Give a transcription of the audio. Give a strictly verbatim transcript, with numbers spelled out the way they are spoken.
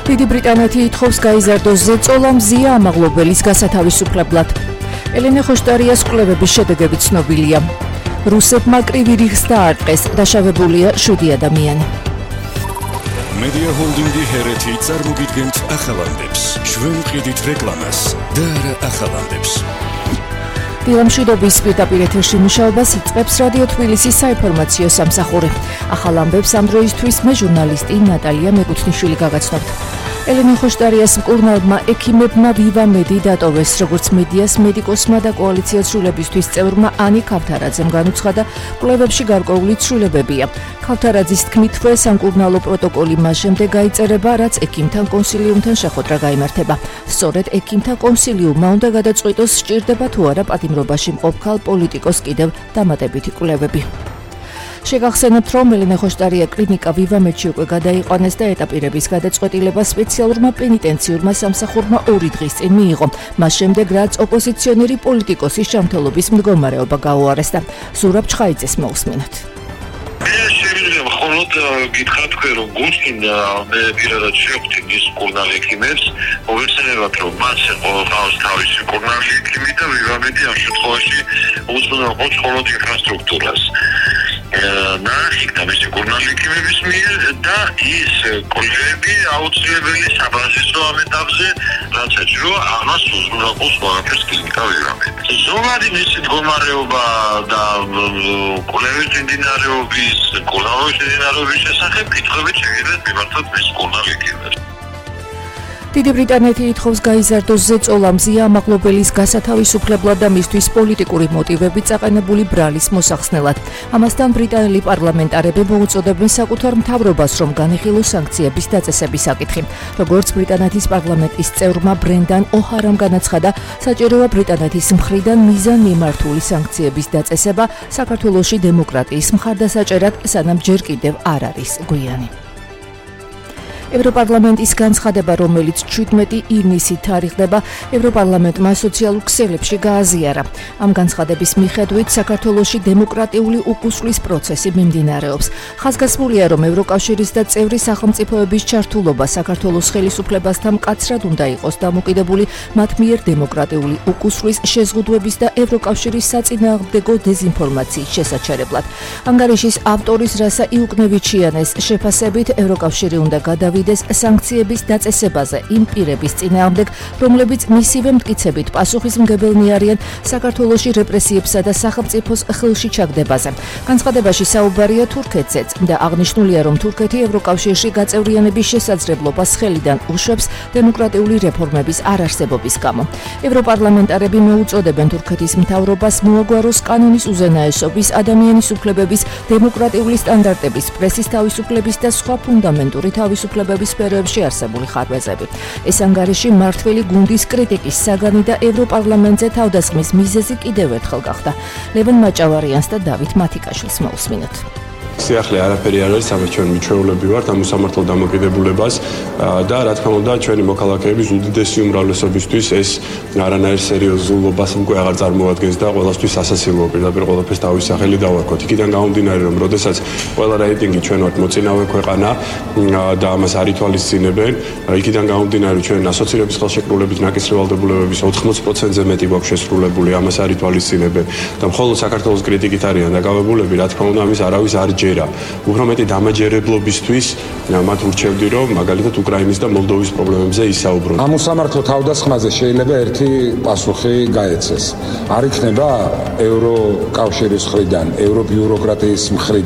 დიდი ბრიტანეთი ითხოვს გაიზარდოს ზეწოლა მზია ამაღლობელის გასათავისუფლებლად. ელენე ხოშტარიას კვლევების შედეგები ცნობილია. რუსებმა კრივი რიგს დაარტყეს, დაშავებულია შვიდი ადამიანი. მედია ჰოლდინგი ჰერეთი წარმოგიდგენთ ახალანდებს. ჩვენ ვყიდით რეკლამას და არა ახალანდებს. დილამშვიდობის პირდაპირ ეთერში მუშაობას იწყებს რადიო თბილისის საინფორმაციო სამსახური. ახალ ამბებს ამ დროისთვის მე ჟურნალისტი ნატალია მეკუთვნიშვილი გაგაცნობთ. ელენე ხოშტარიას მკურნალმა ექიმებმა ვივამედი დატოვეს, როგორც მედიას მედიკოსმა და კოალიციას ცვლილებისთვის წევრმა ანი ქავთარაძემ განუცხადა, კვლევებში გარკვეული ცვლილებებია. ქავთარაძის თქმით, სამკურნალო პროტოკოლი მას შემდეგ გაიწერება, რაც ექიმთან კონსილიუმთან შეხვედრა გაიმართება. სწორედ ექიმთა კონსილიუმმა უნდა გადაწყვიტოს, სჭირდება თუ არა პატიმრობაში მყოფ ქალ პოლიტიკოს კიდევ დამატებითი კვლევები. შეგახსენებთ, რომ ელენე ხოშტარია კლინიკა ვივამედში უკვე გადაიყვანეს და ეტაპირების გადაწყვეტილება სპეციალურმა პენიტენციურმა სამსახურმა ორი დღის წინ მიიღო. მას შემდეგ, რაც ოპოზიციონერი პოლიტიკოსის ჯანმრთელობის მდგომარეობა გაუარესდა. ზურაბ ჩხაიძეს მოусმინოთ. შეიძლება მხოლოდ გითხრათ თქვენ, რომ გულწრფელად მე პირადად შევხვდი ის მკურნალ ექიმებს, მოვიხსენებათ, რომ მას ყავს თავისი მკურნალი ექიმი და ვივამედი ამ შემთხვევაში უზრუნველყოფს მხოლოდ ინფრასტრუქტურას. ნახიკდა მისი მკურნალი ექიმების მიერ და ის კოლეგები აუცილებელი საბაზისო ამ ეტაპზე, რაც ეჭირო ამას უზრუნველყოფს ყველაფერს კლინიკა ვივამედი. ზოგადი მისი მდგომარეობა და კოლეგების მიმდინარეობის კურნალობის მიმდინარეობის შესახებ კითხვებით შეგიძლიათ მიმართოთ მის მკურნალ ექიმებს. დიდი ბრიტანეთი ითხოვს გაიზარდოს ზეწოლა მზია ამაღლობელის გასათავისუფლებლად და მისთვის პოლიტიკური მოტივებით წაყენებული ბრალის მოსახსნელად. ამასთან ბრიტანელი პარლამენტარები მოუწოდებენ საკუთარ მთავრობას, რომ განიხილოს სანქციების დაწესების საკითხი. როგორც ბრიტანეთის პარლამენტის წევრმა ბრენდან ოჰარამ განაცხადა, საჭიროა ბრიტანეთის მხრიდან მიზანმიმართული სანქციების დაწესება საქართველოში დემოკრატიის მხარდასაჭერად, სანამ ჯერ კიდევ არ არის გვიანი. ევროპარლამენტის განცხადება, რომელიც შვიდმეტი ივნისით თარიღდება, ევროპარლამენტმა სოციალურ ქსელებში გააზიარა. ამ განცხადების მიხედვით საქართველოში დემოკრატიული უკუსვლის პროცესი მიმდინარეობს. ხაზგასმულია, რომ ევროკავშირის და წევრი სახელმწიფოების ჩართულობა საქართველოს ხელისუფლებასთან მკაცრად უნდა იყოს დამოკიდებული მათ მიერ დემოკრატიული უკუსვლის შეზღუდვების და ევროკავშირის საწინააღმდეგო დეზინფორმაციის შესაჩერებლად. ანგარიშის ავტორის რასა იუკნევიჩიანეს შეფასებით, ევროკავშირი უნდა გადავიდეს სანქციების დაწესებაზე იმ პირების წინააღმდეგ, რომლებიც მისივე მტკიცებით პასუხისმგებელნი არიან საქართველოში რეპრესიებსა და სახელმწიფოს ხელში ჩაგდებაზე. განცხადებაში საუბარია თურქეთზეც და აღნიშნულია, რომ თურქეთი ევროკავშირში გაწევრიანების შესაძლებლობას ხელიდან უშვებს დემოკრატიული რეფორმების არარსებობის გამო. ევროპარლამენტარები მოუწოდებენ თურქეთის მთავრობას მოაგვაროს კანონის უზენაესობის, ადამიანის უფლებების, დემოკრატიული სტანდარტების, პრესის თავისუფლების და სხვა ფუნდამენტური თავისუფლებების სფეროებში არსებული ხარვეზები. ეს ანგარიში მმართველი გუნდის კრიტიკის საგანი და ევროპარლამენტზე თავდასხმის მიზეზი კიდევ ერთხელ გახდა. ლევან მაჭავარიანს და დავით მათიკაშვილს მოусმინოთ. სიახლე არაფერი არ არის, ამას ჩვენ მიჩვეულები ვართ ამ უსამართლო დამოკიდებულებას და რა თქმა უნდა ჩვენი მოქალაქეების უდიდესი უმრავლესობისთვის ეს არანაირ სერიოზულობას უკვე აღარ წარმოადგენს და ყველასთვის სასაცილოა პირდაპირ ყველაფერს თავის სახელი დავარქვათ. იქიდან გამომდინარე, რომ როდესაც ყველა რეიტინგი ჩვენ ვართ მოწინავე ქვეყანა და ამას არ ითვალისწინებენ, იქიდან გამომდინარე ჩვენ ასოცირების ხელშეკრულებით ნაკისრი ვალდებულებების ოთხმოცი პროცენტზე მეტი გვაქვს შესრულებული, ამას არ ითვალისწინებენ და მხოლოდ საქართველოს კრიტიკით არიან დაკავებულები, რა თქმა უნდა ამის არავის არ ჯერა. უფრო მეტი დამაჯერებლობისთვის მათ ურჩევდი, რომ მაგალითად უკრაინის და მოლდოვის პრობლემებზე ისაუბრონ. ამ უსამართლო თავდასხმაზე შეიძლება ერთი პასუხი გაეცეს. არ იქნება ევროკავშირის მხრიდან, ევრობიუროკრატიის მხრიდან